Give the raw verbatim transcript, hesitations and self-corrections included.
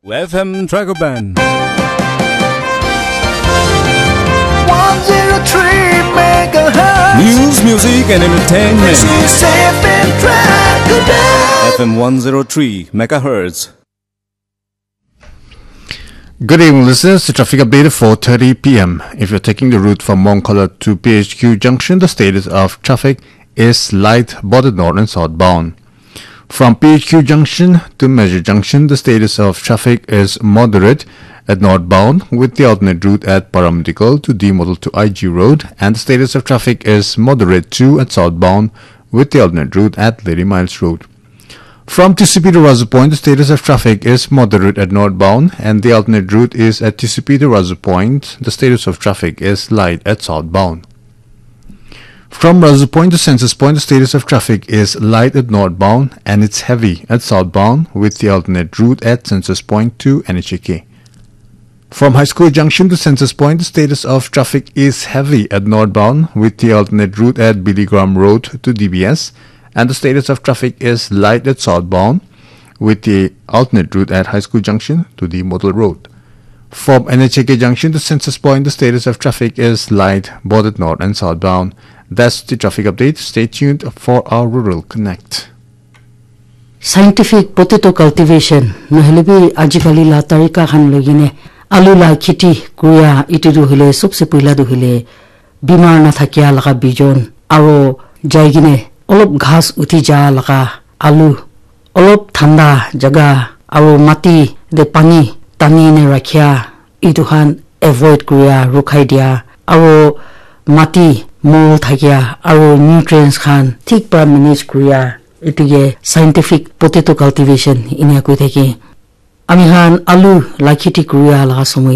F M Dragon Band. one zero three megahertz. News, music, and entertainment. This is F M Dragon Band. F M one zero three megahertz. Good evening, listeners. The traffic update at four thirty p m. If you're taking the route from Mongkala to P H Q Junction, the status of traffic is light, both north and southbound. From P H Q Junction to Major Junction, the status of traffic is moderate at northbound, with the alternate route at Paramedical to D Model to I G Road, and the status of traffic is moderate too at southbound, with the alternate route at Lady Miles Road. From T C P to Razu Point, the status of traffic is moderate at northbound, and the alternate route is at T C P to Razu Point. The status of traffic is light at southbound. From Razu Point to Census Point, the status of traffic is light at northbound, and it's heavy at southbound, with the alternate route at Census Point to N H A K. From High School Junction to Census Point, the status of traffic is heavy at northbound, with the alternate route at Billy Graham Road to D B S, and the status of traffic is light at southbound, with the alternate route at High School Junction to the Model Road. From N H A K Junction to Census Point, the status of traffic is light, both at north and southbound. That's the traffic update. Stay tuned for our Rural Connect. Scientific potato cultivation, nohole bi ajikali la tarika khan loi kene alu la kheti kuria, itu tu hoile sobse puila tu hoile bimar na thakia laga bijon, aro jai kene olop ghas uthi ja laga alu, olop thanda jaga aro mati te pani tani ne rakhia, itu khan avoid kuria, rukhai dia, aro mati mol thakia aro nutrients khan thik para manage kuria, itu ke scientific potato cultivation inia koi thake. Ami khan alu la kheti kuria laga somoi